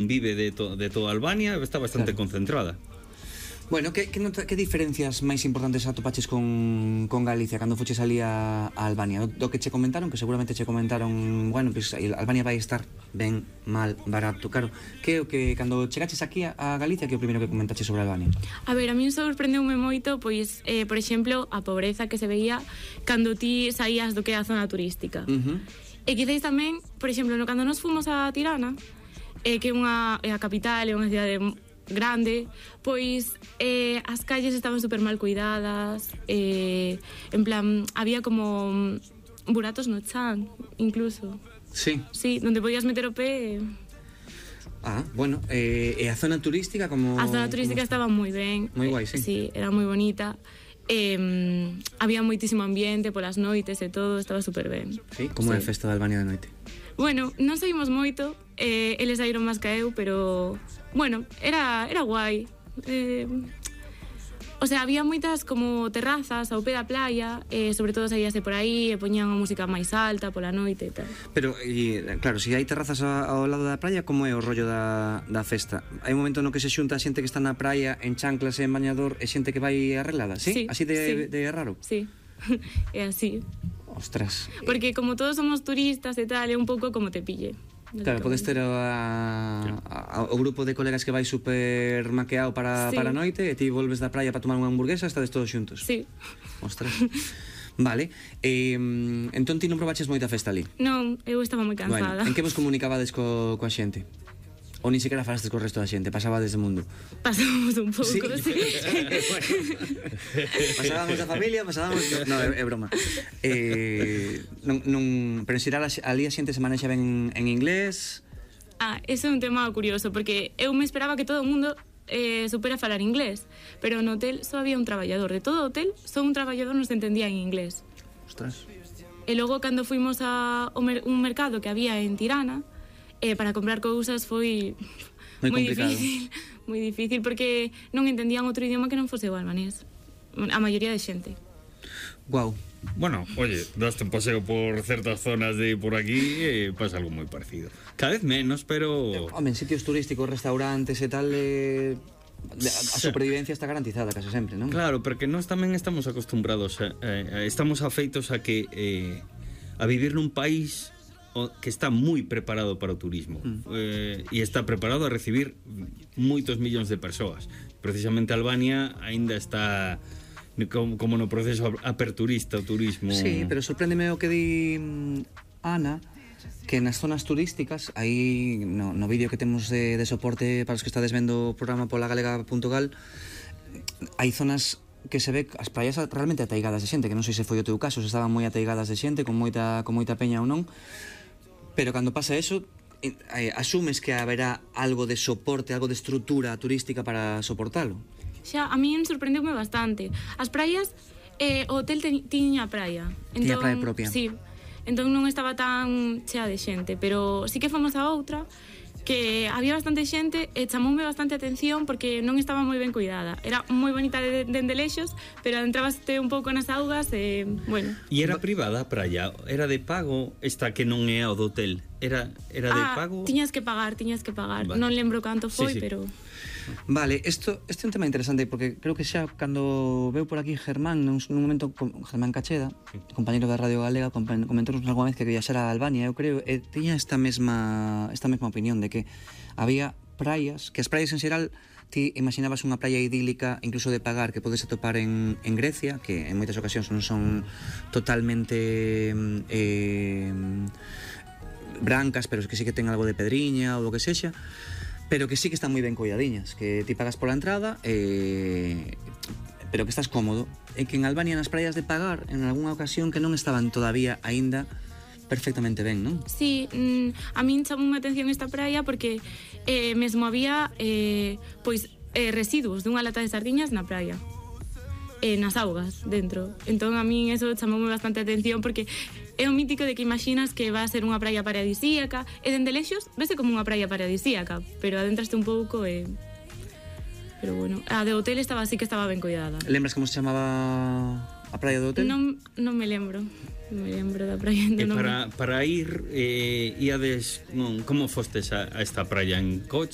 vive de toda Albania, está bastante concentrada. Bueno, que diferencias máis importantes atopaches con Galicia cando fuches ali a Albania? Do que che comentaron, que seguramente che comentaron, bueno, pues Albania vai estar ben, mal, barato, claro. Que é o que cando chegaches aquí a Galicia, que é o primeiro que comentaches sobre Albania? A ver, a min sorprendeume moito, pois, por exemplo, a pobreza que se veía cando ti saías do que é a zona turística. E quizáis tamén, por exemplo, cando nos fomos a Tirana, que é a capital, é unha cidade grande, pois as calles estaban super mal cuidadas, en plan, había como buratos no chan, incluso. Sí. Sí, donde podías meter o pé. Bueno, e a zona turística como... A zona turística estaba moi ben. Moi guai, sí. Sí, era moi bonita. Había moitísimo ambiente polas noites e todo, estaba super ben. Sí, como é a festa de Albania de noite? Bueno, non saímos moito, eles saíron máis que eu, pero bueno, era guai. O sea, había moitas como terrazas ao pé da playa, sobre todo saíase por aí e poñían a música máis alta pola noite e tal. Pero, claro, se hai terrazas ao lado da praia, como é o rollo da festa? Hai un momento no que se xunta a xente que está na praia en chanclas e en bañador e xente que vai arreglada, sí? Sí, así de raro? Sí, é así. Ostras. Porque como todos somos turistas e tal, é un pouco como te pille. Claro, podes ter o grupo de colegas que vai super maqueado para a noite e ti volves da praia para tomar unha hamburguesa e estades todos xuntos. Sí. Ostras. Vale. Entón ti non probaches moita festa ali? Non, eu estaba moi cansada. Bueno, en que vos comunicabades coa xente? Ou ni sequera falastes co resto da xente? Pasabades de mundo? Pasábamos un pouco, sí. Pasábamos da familia, pasábamos... No, é broma. Pero en xeral ali a xente se manexa ben en inglés? Ese é un tema curioso, porque eu me esperaba que todo o mundo supera falar inglés, pero no hotel só había un traballador. De todo o hotel, só un traballador nos entendía en inglés. Ostras. E logo, cando fuimos a un mercado que había en Tirana, para comprar cousas foi moi difícil, porque non entendían outro idioma que non fose o albanés, a maioría de xente. Guau. Bueno, oye, daste un paseo por certas zonas de por aquí e pasa algo moi parecido. Cada vez menos, pero... Home, en sitios turísticos, restaurantes e tal, a supervivencia está garantizada casi sempre, non? Claro, porque nós tamén estamos acostumbrados estamos afeitos a que a vivir nun país que está moi preparado para o turismo e está preparado a recibir moitos millóns de persoas. Precisamente Albania aínda está como no proceso aperturista o turismo. Sí, pero sorpréndeme o que di Ana, que nas zonas turísticas, aí no vídeo que temos de soporte para os que estades vendo o programa polagalega.gal, hai zonas que se ve as praias realmente ateigadas de xente, que non sei se foi o teu caso, se estaban moi ateigadas de xente, con moita peña ou non. Pero cando pasa eso, asumes que haberá algo de soporte, algo de estrutura turística para soportalo. Xa, a min sorprendeume bastante. As praias, o hotel tiña praia. Tiña praia propia. Sí, entón non estaba tan chea de xente, pero sí que fomos a outra que había bastante xente e chamoume bastante atención porque non estaba moi ben cuidada. Era moi bonita dende lexos, pero adentrabaste un pouco nas augas e, bueno. E era privada a praia? Era de pago esta que non é o do hotel? Era de pago? Tiñas que pagar. Vale. Non lembro canto foi, sí. Pero... Vale, isto é un tema interesante porque creo que xa cando veu por aquí Germán, nun momento, Germán Cacheda, compañeiro da Radio Galega, comentou-nos alguna vez que viaxara a Albania, eu creo, e tiña esta mesma opinión de que había praias, que as praias en xeral ti imaginabas unha praia idílica, incluso de pagar, que podes atopar en Grecia, que en moitas ocasións non son totalmente brancas, pero que sí que ten algo de pedriña ou o que sexa, pero que sí que están moi ben cuidadiñas, que ti pagas pola entrada, pero que estás cómodo. E que en Albania, nas praias de pagar, en algunha ocasión que non estaban todavía aínda perfectamente ben, non? Sí, a min chamoume atención esta praia porque mesmo había residuos dunha lata de sardiñas na praia, nas augas dentro. Entón a min eso chamoume bastante atención porque é o mítico de que imaginas que va a ser unha praia paradisíaca e dende lexos vese como unha praia paradisíaca, pero adentraste un pouco e... Pero bueno, a de hotel estaba así que estaba ben cuidada. Lembras como se chamaba A praia do hotel? Non me lembro. Non me lembro da praia do nome. Para ir, iades, como fostes a esta praia? En coche?